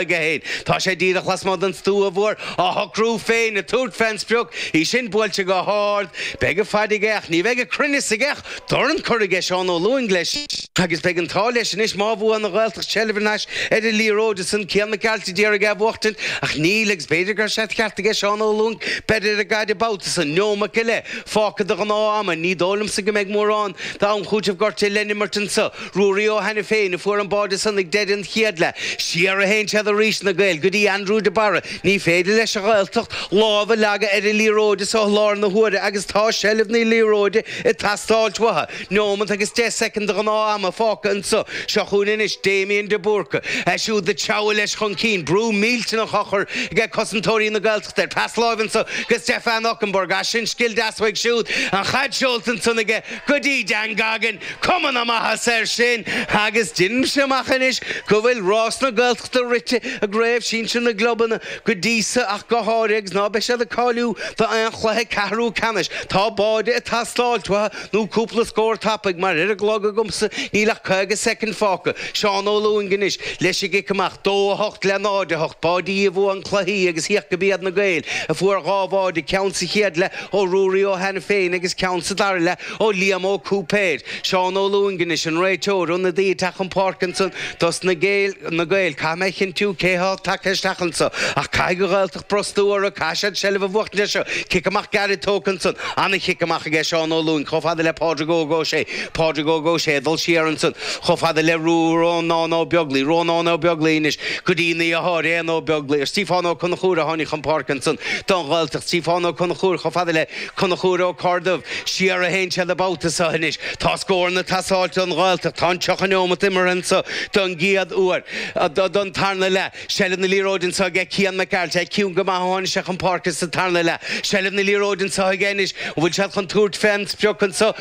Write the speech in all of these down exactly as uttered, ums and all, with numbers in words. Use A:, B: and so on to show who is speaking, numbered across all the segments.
A: aige féin. Tá sé díreach lasmuigh den stua mhór, á shocrú féin, ag tabhairt fén sprioc, í sin buailte go hard. Beidh a fad aige ach ní bheidh a cruinneas aige ach dorn curtha aige Seán Ó Lúing leis agus beidh an t-ádh leis anois má bhuann an Ghaeltacht seilbh thar n-ais ar an liathróid ansan Cian Mac Gearailt a d'iarraidh é a bhuachtaint ach níl agus b'fhéidir go raibh sé de cheart aige Seán Ó Lúing beir ar an gcaid an babhta san. Neomat go leith fágtha de ghnáth ama. Ní dóigh liomsa go mbeidh mórán d'am chúitimh gortaithe le n-imirt anso. Ruairí Ó hAiniféin a fuair an báide san ag deireadh an chéad leath. Siar a théann siad arís, na Gaeil, go dtí Andrew de Barra. Ní féidir leis an Ghaeltacht lámh a leagadh ar an liathróid anso i láthair na huaire agus tá seilbh na liathróide ag teastáilt uathu. Neomat agus deich soicind de ghnáth ama fágtha anso. Seo chugainn anois Damien de Búrca. É siúd ag treabhadh leis chun cinn. Brú millteanach á chur ag cosantóirí na Gaeltachta air. Pas láimhe anso go Stefan Okunbor. As sin scil deas uaidh siúd. An chaid seolta ansan aige go dtí Dan Goggin. Cuma na maitheasa air sin agus deinimse amach anois go bhfuil rás na Gaeltachta rite i gCraobh Shinsir na gClubanna go dtí so ach go háirithe agus ná beidh siad ag cáiliú d'aon chluiche ceathrú ceannais. Tá báide ag teastáilt uathu nó cúpla scór tapaidh mar ar an gclog agamsa níl ach caoga soicind fágtha. Seán Ó Lúing anois leis an gcic amach, dó a hocht le náid a hocht. Báidí a bhuann cluichí agus féach go b'iad na Gaeil a fuair dhá bháide, ceann sa chéad leath ó Ruairí Ó hAiniféin agus ceann sa dara leath ó Liam Ó Cúipéir. Seán Ó Lúing anois, an réiteoir, ionadaí ag teacht chun páirce ansan dos na Gaeil, na Gaeil. Caithfidh mé a chinntiú cé thá tagtha isteach anso ach caithfidh an Ghaeltacht brostú orthu, caithfidh siad seilbh a bhuachtaint air seo. Cic amach gairid tógtha ansan. Ana-chic amach aige Seán Ó Lúing chomh fada le Pádraig Óg Ó Sé. Pádraig Óg Ó Sé ag dul siar ansan chomh fada le Rónán Ó Beaglaoi. Rónán Ó Beaglaoi anois go dtí a dheartháir Éanna Ó Beaglaoi, ar Stiofán Ó Conchúir a tháinig chun páirce ansan don Ghaeltacht. Stiofán Ó Conchúir chomh fada le Conchúr Ó Corrdubh. Siar a théann siad an babhta seo anois. Tá scóranna ag teastáilt don Ghaeltacht. Tá an tríocha neomat imeartha anso don gcéad uair don tarna leath. Seilbh na liathróide anso aige Cian Mac Gearailt. É ciúin go maith ó tháinig sé chun páirce sa tarna leath. Seilbh na liathróide anso aige anois. An bhfuil siad chun tabhairt fén sprioc anso?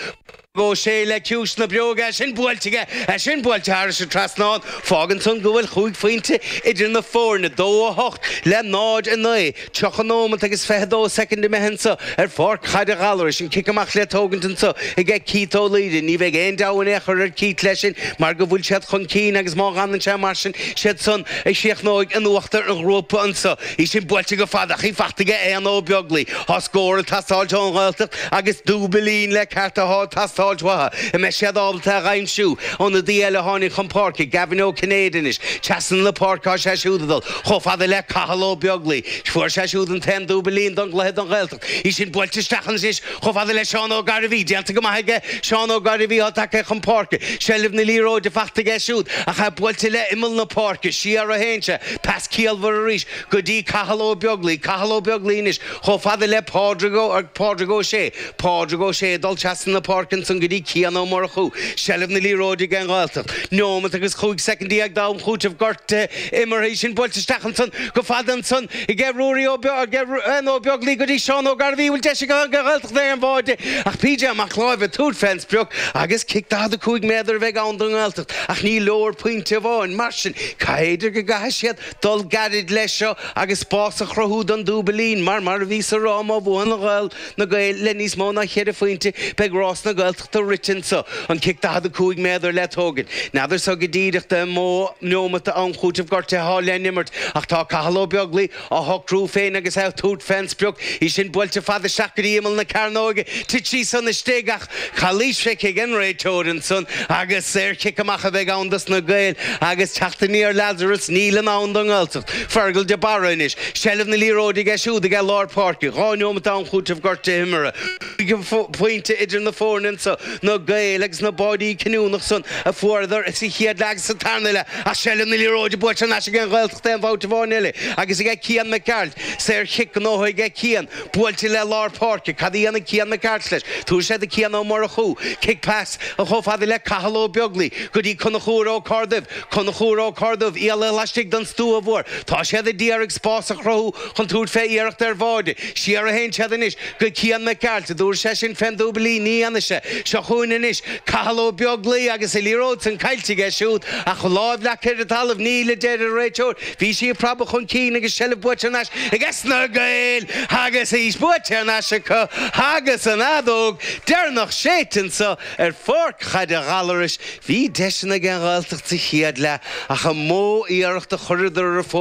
A: Ó Sé le ciumhais na bréige, é sin buailte aige, é sin buailte thairis an trasnán. Fágann san go bhfuil chúig phointe idir na foirne, dó a hocht le náid a naoi. Tríocha nóimeat agus fiche dó soicind imithe anso ar pháirc chaide Ghallarais. An cic amach le tógaint anso aige Keith Ó Laoire. Ní bheidh aon deabhadh in aon chor ar Keith leis sin mar go bhfuil siad chun cinn agus má dh'fhanann sé mar sin, siad san a chríochnóidh in uachtar an ghrúpa anso. Í sin buailte go fada ach í fachta aige Éanna Ó Beaglaoi. Tá scór ag teastáilt ón Ghaeltacht agus dúbailín le ceart atá ag teastáilt uathu. An mbeidh siad ábalta é a dh'aimsiú? Ionadaí eile a tháinig chun páirce, Gavin Ó Cinnéide anois. Trasna na páirce tá sé siúd ag dul chomh fada le Cathal Ó Beaglaoi. Fuair sé siúd an t-aon dúbailín don gcluiche don Ghaeltacht. Í sin buailte isteach anois chomh fada le Seán Ó Gairbhí. Déanta go maith aige Seán Ó Gairbhí atá tagtha chun páirce. Seilbh na liathróide fachta aige siúd ach é buailte le imeall na páirce. Siar a théann sé. Pas ciallmhar arís go dtí Cathal Ó Beaglaoi. Cathal Ó Beaglaoi anois chomh fada le Pádraig Ó Pádraig Ó Sé. Pádraig Ó Sé ag dul trasna na páirce ansan go dtí Cian Ó Murchú. Seilbh na liathróide ag an nGaeltacht. Neomat agus chúig soicind déag d'am chúitimh gortaithe imeartha. Í sin buailte isteach ansan go fada ansan ag Ruairí Ó Éanna Ó Beaglaoi go dtí Seán Ó Gairbhí. Bhfuil deis ag an Ghaeltacht ar an bháide ach P J Mac Láimh ag tabhairt fén sprioc agus cic daichead a cúig méadar a bheidh ann don nGaeltacht ach ní leor pointe amháin. Mar sin, caithfidh go gcaithfidh siad dul gairid leis seo agus spás a chruthú don dúbailín mar mar a bhíos a rá má bhuann an Ghael na Gaeil le níos mó ná cheithre phointe beidh rás na Gaeltachta rite anso. An cic daichead a cúig méadar le tógaint. N'fheadar so go díreach an mó neomat d'am chúitimh gortaithe atá le n-imirt ach tá Cathal Ó Beaglaoi á shocrú féin agus é ag tabhairt fén sprioc. Í sin buailte fada isteach go dtí imeall na cearnóige. Thit sí san istigh ach calaois feicthe ag an réiteoir ansan agus saorchic amach a bheidh ann dos na Gaeil agus teacht aniar Lazarus níl in ann don nGaeltacht. Fergal de Barra anois. Seilbh na liathróide aige siúd ag lár páirce. Dhá neomat d'am chúitimh gortaithe imeartha. Cúig phointe idir na foirne anso, na Gaeil agus na báidí cinniúnach san a fuaireadar sa chéad leath agus sa tarna leath ach seilbh na liathróide buaite thar n-ais ag an Ghaeltacht aon bhabhta amháin eile agus aige Cian Mac Gearailt. Saorchic gnóthaithe aige Cian. Buailte le lár páirce. Cad a dhéanfaidh Cian Mac Gearailt leis? Tabharfaidh sé do Cian Ó Murchú. Cic pas chomh fada le Cathal Ó Beaglaoi go dtí Conchúr Ó Corrdubh. Conchúr Ó Corrdubh, iallach laistigh den stua mhór. Tá siad ag iarraidh spás a chruthú chun tabhairt fé iarracht ar bháide. Siar a théann siad anois go Cian Mac Gearailt. An dtabharfaidh sé sin fén dúbailín? Ní dhéanfaidh sé. Seo chugainn anois Cathal Ó Beaglaoi agus an liathróid san caillte aige siúd ach lámh leagtha ar an talamh níl a deir an réiteoir. Bhí sí ag preabadh chun cinn agus seilbh buaite thar n-ais aige na Gaeil agus í buaite thar n-ais acu agus an fheadóg deireanach séidte anseo ar pháirc chaide Ghallarais. Bhí deiseanna ag an Ghaeltacht sa chéad leath ach an mó iarracht a chuireadar ar fóraoil